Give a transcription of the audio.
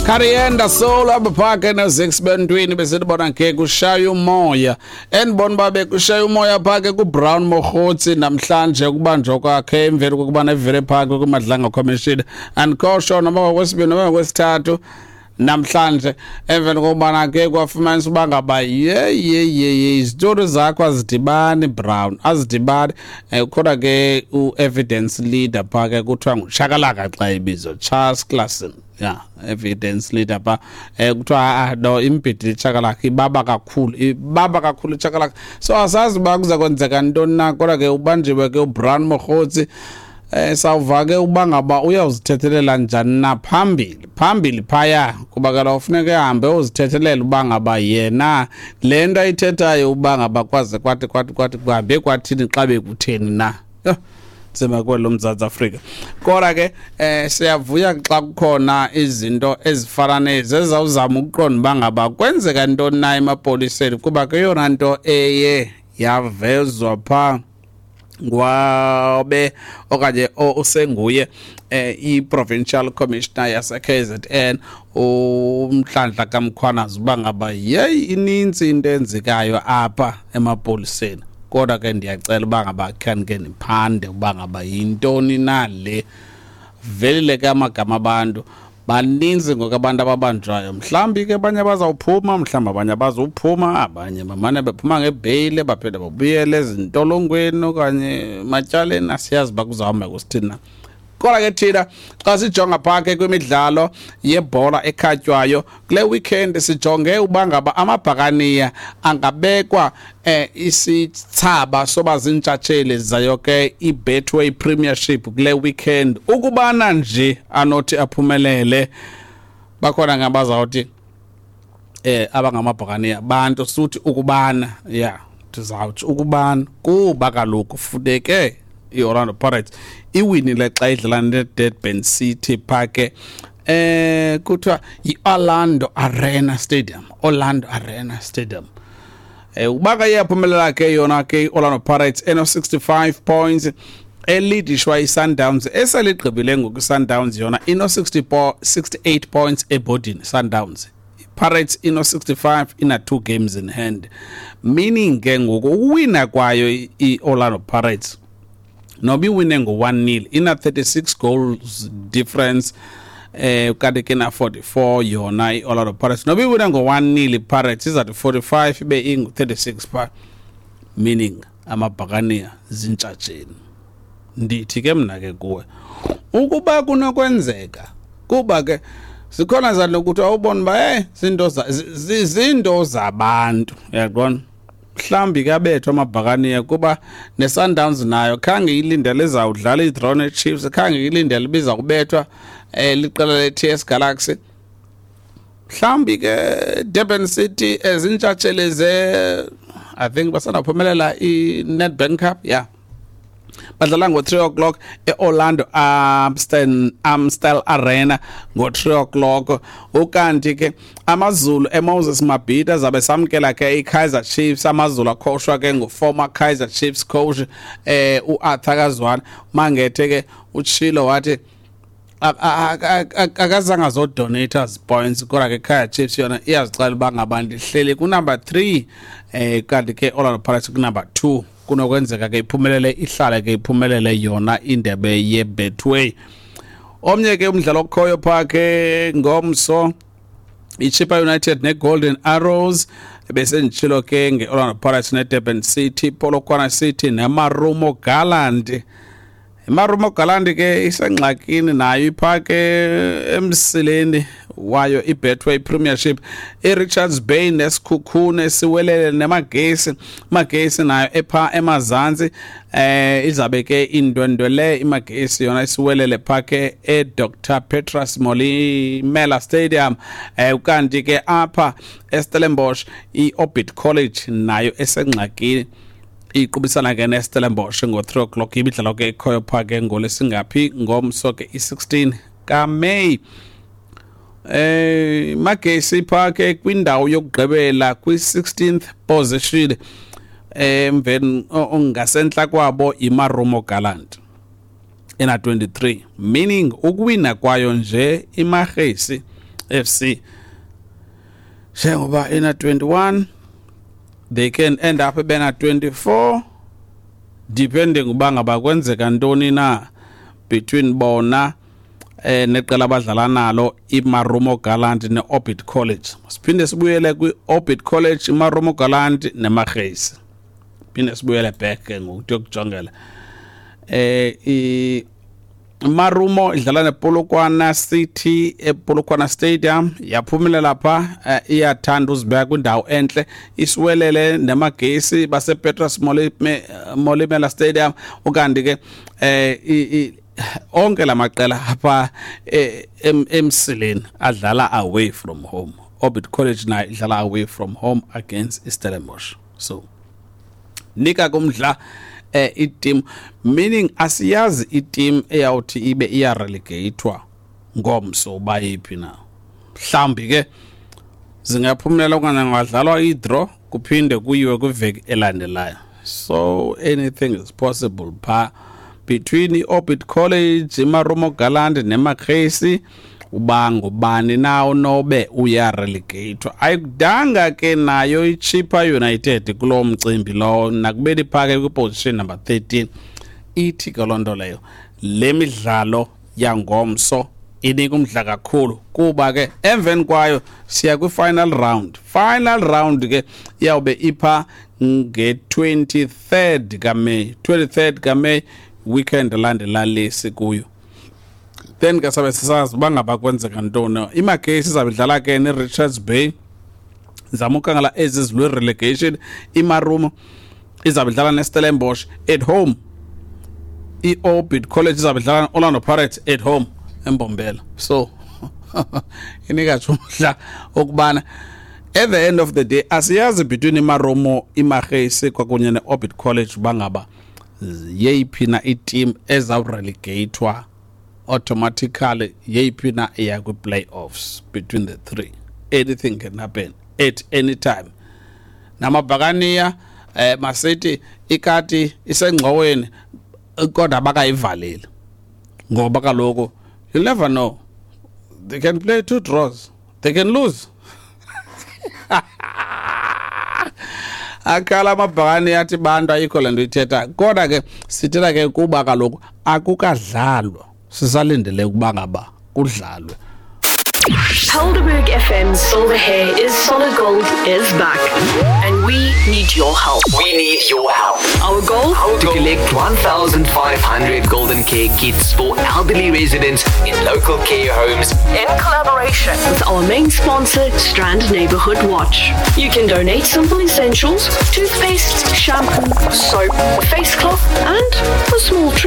Karienda Soul apha phaa ke no-6 bentwini besibona ke kushaya umoya. Endibona uba bekushaya umoya phaa ke kuBrown Mogotsi namhlanje ukubanjwa kwakhe emveni kokuba nevele phaa ke kwiMadlanga Commission. Andikho sure noma ngokwesibini noma ngokwesithathu namhlanje, emveni kokubana ke kwafumanisa uba ngaba ye ye ye ye izitori zakho azidibani, Brown, azidibani. Ukhona ke u-evidence leader phaa ke, kuthiwa nguShakalaka xa ibizwa, Charles Claasen, ya, evidence leader phaa. Kuthiwa ah no, imbhidi iShakalaka ibaba kakhulu, ibaba kakhulu iShakalaka. So asazi uba kuza kwenzeka ntoni na, kodwa ke ubanjiwe ke uBrown Mogotsi. Sawuva ke uba ngaba uyawuzithethelela njani na phambili phambili phaya, kuba kaloku funeka ehambe uzithethelela uba ngaba yena le nto ayithethayo, uba ngaba kwaze kwathi kwathi kwathi kuhambe kwathini xa bekutheni na. Yho, nzima kwelo Mzantsi Afrika. Kodwa ke siyavuya xa kukhona izinto ezifana nezi ezawuzama ukuqonda uba ngaba kwenzeka ntoni na emapoliseni, kuba ke yona nto eye yavezwa phaa ngwabe okanye usenguye i-provincial commissioner yase-KZN uNhlanhla kaMkhwanazi, uba ngaba yeyi ininzi into enzekayo apha emapoliseni. Kodwa ke ndiyacela uba ngaba khanike niphande uba ngaba yintoni na le. Velile ke amagama abantu baninzi ngoku, abantu ababanjwayo. Mhlawumbi ke abanye bazawuphuma, mhlawumbi abanye abazuphuma, abanye bamane bephuma ngebheyile baphinde babuyele ezintolongweni okanye ematyaleni. Asiyazi uba kuzawuhamba kusithini na. Kodwa ke thina xa sijonga phaa ke kwimidlalo yebhola ekhatywayo kule weekend, sijonge uba ngaba amaBhakaniya angabekwa isithsaba soba ziintshatsheli zayo ke iBetway Premiership kule weekend, ukubana nje anothi aphumelele. Bakhona ngabazawuthi abangamaBhakaniya bantu suthi ukubana ya ndizawuthi ukubana, kuba kaloku funeke i-Orlando Pirates iwinile xa idlala ne-Durban City phaa ke, kuthiwa yi-Orlando Arena Stadium, Orlando Arena Stadium. Uba ke iyaphumelela ke yona ke i-Orlando Pirates eno-65 points, elidishwa i-Sundowns eseligqibile ngoku. I-Sundowns yona ino-64, 68 points ebhodini Sundowns. Pirates ino-65, ina 2 games in hand, meaning ke ngoku ukuwina kwayo i-Orlando Pirates, noba iwine ngo-1-0, ina 36 goals difference, kanti ke na 44 yona i-Orlando Pirates. Noba iwine ngo-1-0 iPirates izawuthi 45 ibe ingu-36 pha, meaning amaBhakaniya zintshatsheni. Ndithi ke mna ke kuwe, ukuba kunokwenzeka, kuba ke zikhona zalo ukuthi awubona uba hey, zinto zabantu, uyaqonda, mhlawumbi kabethwa amaBhakaniya, kuba ne-Sundowns nayo khange ilindele izawudlala i-draw ne-Chiefs, khange ilindele ibiza kubethwa liqela le-TS Galaxy. Mhlawumbi ke Durban City ezintshatsheli ze, I think basanaphumelela i-Nedbank Cup, yeah. Badlala ngo-3 o'clock e-Orlando Amstel Arena ngo-3 o'clock. Ukanti ke AmaZulu eMoses Mabhida zabe samkela ke i-Kaizer Chiefs. AmaZulu akhoshwa ke ngu-former Kaizer Chiefs coach u-Arthur Kazwane Mangethe ke utshilo wathi akazange azodonate points, kodwa ke Kaizer Chiefs yona iyazixela uba ngaba ndihleli kunumber 3, kanti ke Orlando Pirates kunumber 2. Kunokwenzeka ke iphumelele, ihlale ke iphumelele yona indebe yeBetway. Omnye ke umdlalo okhoyo phaa ke ngomso, iChippa United neGolden Arrows. Bese nditshilo ke nge-Orlando Pirates neDurban City, Polokwane City neMarumo Gallant. IMarumo Gallant ke isengxakini nayo, iphaa ke emsileni wayo iBetway Premiership. IRichards Bay neSikhukhune siwelele neMagesi. Magesi nayo epha emazantsi, izabe ke indwendwele iMagesi yona isiwelele phaa ke eDr Petrus Molemela Stadium. Ukanti ke apha eStellenbosch iOrbit College nayo esengxakini, iqubisana ke neStellenbosch ngo-3 o'clock. Imidlalo ke ekhoyo phaa ke ngolesingaphi ngomso ke, i-16 kaMeyi. Magesi phaa ke kwindawo yokugqibela, kwi-16th position, emveni ngasentla kwabo iMarumo Gallant ena 23, meaning ukuwina kwayo nje iMagesi FC njengoba ina 21, they can end up bena 24, depending uba ngaba kwenzeka ntoni na between bona neqela abadlala nalo, iMarumo Gallant neOrbit College. Siphinde sibuyele kwi-Orbit College, iMarumo Gallant neMagesi. Phinde sibuyele back ke ngoku kuyokujongela Marumo idlala nePolokwane City ePolokwane Stadium, yaphumelela pha, iyathanda uzibeka kwindawo entle. Isiwelele neMagesi basePetrus Molemela Stadium. Ukanti ke onke lamaqela apha emsileni adlala away from home. Orbit College nayo idlala away from home against iStellenbosch. So nika kumdla iteam, meaning asiyazi iteam eyawuthi ibe iyarelegatwa ngomso uba yiphi na. Mhlawumbi ke zingaphumelela okanye kungadlalwa i-draw, kuphinde kuyiwe kwiveki elandelayo. So anything is possible pha between i-Orbit College, iMarumo Gallant neMagesi, uba ngubani na onobe uyarelegatwa. Ayikudanga ke nayo iChippa United kulo mcimbi lowo, nakubeni phake kwiposition number 13. Ithi ke loo nto leyo le midlalo yangomso inika umdla kakhulu, kuba ke emveni kwayo siya kwi-final round. Final round ke iyawube ipha nge-23rd kaMeyi, 23rd kaMeyi, weekend landela lesi kuyo. Then ke sabe sisazi uba ngaba kwenzeka ntoni. IMagesi izabe idlala ke ne-Richards Bay, zama ukhangela ezi zilwe relegation. IMarumo izabe idlala neStellenbosch at home. I-Orbit College izabe idlala ne-Orlando Pirates at home eMbombela. So inika nje umdla okubana at the end of the day asiyazi between iMarumo, iMagesi kwakunye ne-Orbit College uba ngaba yeyiphi na iteam ezawurelegatwa automatically, yeyiphi na iya kwi-playoffs. Between the three, anything can happen at any time. Namabhakaniya masithi ikati isengxoweni kodwa bakayivaleli, ngoba kaloku you never know, they can play two draws, they can lose. Akhala amabhakani athi bantu ayikho le nto ithetha, kodwa ke sithetha ke kuba kaloku akukadlalwa, sisalindele ukuba ngaba kudlalwe. Helderberg FM's Silver Hair is Solid Gold is back. And we need your help. We need your help. Our goal? To collect 1,500 Golden Care kits for elderly residents in local care homes in collaboration with our main sponsor, Strand Neighborhood Watch. You can donate simple essentials, toothpaste, shampoo, soap, face cloth, and a small treat.